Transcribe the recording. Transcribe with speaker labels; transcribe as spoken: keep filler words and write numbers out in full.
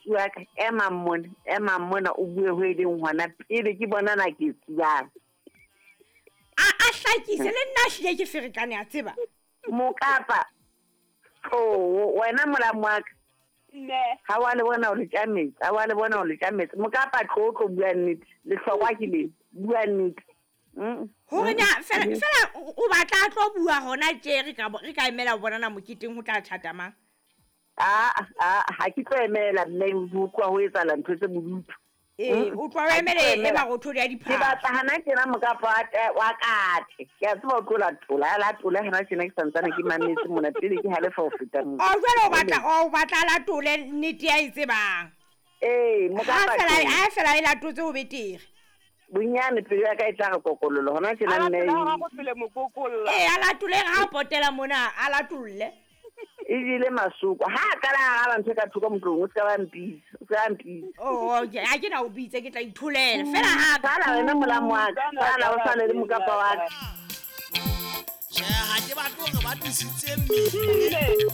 Speaker 1: Ausi wa ka, ema mona, ema mona o bue ho e leng hona pele ke bona na ke tsebang.
Speaker 2: A a hlakise le nna hlile ke ferekane a tseba.
Speaker 1: Mokapa. Oh, wena molamu wa ka.
Speaker 3: Mme.
Speaker 1: Ha wa le bona o le tjametse, ha wa le bona o le tjametse. Mokapa tlo tlo bua nnete. Lehlokwa ke le. Bua nnete. Mm.
Speaker 2: Hore na fela fela o batla a tlo bua hona tje re ka re ka emela ho bonana moketeng ho tla tjhata mang.
Speaker 1: Ah ah ha ke tlo emela mme ho utlwa ho etsahala ntho tse bodutu.
Speaker 2: Ee, o tloha o emele e marothodi a
Speaker 1: Ke
Speaker 2: diphahlo.
Speaker 1: batla hana tjena mokapa wa te- wa katle. Ke a tseba o tlo latola, a latole hana tjena ke santsane ke mametse mona pele ke halefa ho feta mona.
Speaker 2: O jwale o batla o batla a latole nnete ya e tsebang.
Speaker 1: Ee,
Speaker 2: Ha
Speaker 1: mokapa
Speaker 2: fela
Speaker 1: teng.
Speaker 2: ha fela e latotse ho betere.
Speaker 1: Bonyane pelo ya ka e tla re kokololo hona tjena
Speaker 3: A
Speaker 1: mme.
Speaker 3: latole ha go pele mokokolla.
Speaker 2: Ee, a latole ha a potela mona a latolle.
Speaker 1: E jele masoko. Ha a qala a araba ntho e ka thoko motlong, o ska ba mpitsa, o ska ba mpitsa.
Speaker 2: Oh, okay, ha ke na o bitse ke tla itholela. Fela ha ka
Speaker 1: Sala wena molamu wa ka, sala o sale le mokapa wa ka.
Speaker 4: Tjhe, ha ke batle hore ba tlisitse mmele.